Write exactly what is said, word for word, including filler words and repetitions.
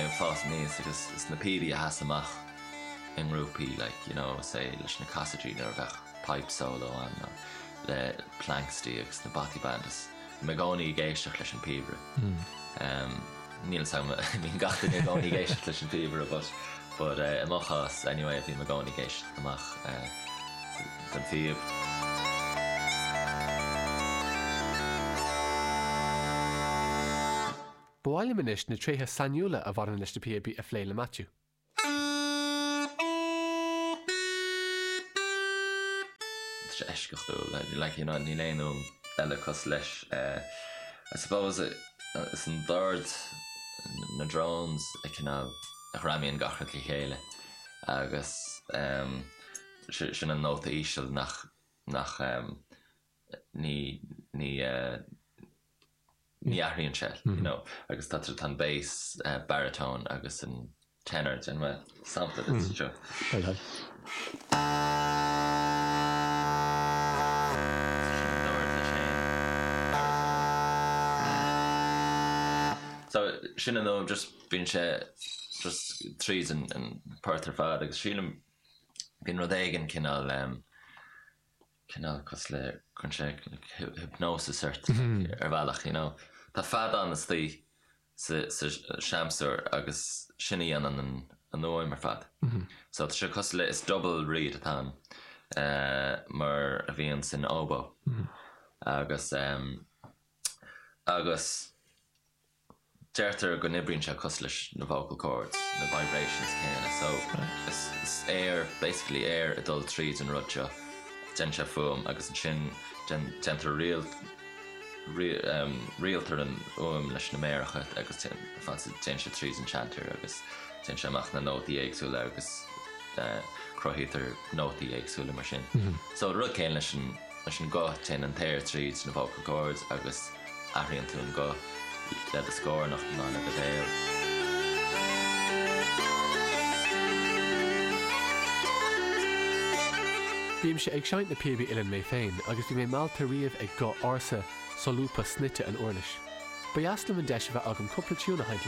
ag fás aníos agus is na píobaí a sheas amach i ngrúpaí like you know say leis na Casaidirí nuair a bheadh pipe solo ann nó le Planxty agus na Bothy Band is bhí mé i gcónaí ag éisteacht leis an píobaire. Um, níl a fhios agam bíonn gach duine i gcónaí ag éisteacht leis an píobaire but but uh, i mo chás anyway bhí mé i gcónaí ag éisteacht amach uh, don phíob. Ba mhaith liom anois na tréithe sainiúla a bhaineann leis na píobaí a phlé le Matthew. Tá sé eisceachtúil like you know níl aon fhuaim eile cosúil leis uh, I suppose uh, is an dord na drones a cineál a ghreamaíonn gach rud le chéile agus um, sin an nóta íseal nach nach um, ní ní uh, ní athraíonn sé you know agus tá tá an bass uh, baritone agus an tenor den me sampla mm. seo. Sin an dord leis féin, baritone. So sin an nó just bíonn sé just tríd an, an port ar fad agus sílim bíonn rud éigin cineál um, cineál cosúil le chun sé hypnosis ort ar bhealach, you know. Tá feadán istigh sa, sa seamsúr agus sin a dhéanann an, an fhuaim ar fad. So tá sé cosúil le is double reed atá ann, uh, mar a bhíonn san oboe. Agus um, agus deirtear go n-oibríonn sé cosúil leis na vocal cords, na vibrations céanna. So is, is air, basically air ag dul tríd an rud seo, déanann sé fuaim agus ansin déan- déantar riail ri- um, rialtar an fhuaim leis na méaracha agus déanann sé tríd an chanter agus déanann sé amach na nótaí éagsúla agus uh, cruthaítear nótaí éagsúla mar sin. So rud céanna leis an leis an guth téann an t-aer tríd na vocal cords agus athraíonn tú an guth le do scór nach ná le do bhéal. Bímse ag seinnt na píobaí uilleann mé féin agus bhí mé meallta riamh ag guth ársa solúbtha snoite an uirlis. Ba dheas liom an deis a bheith agam cúpla tiún a sheinnt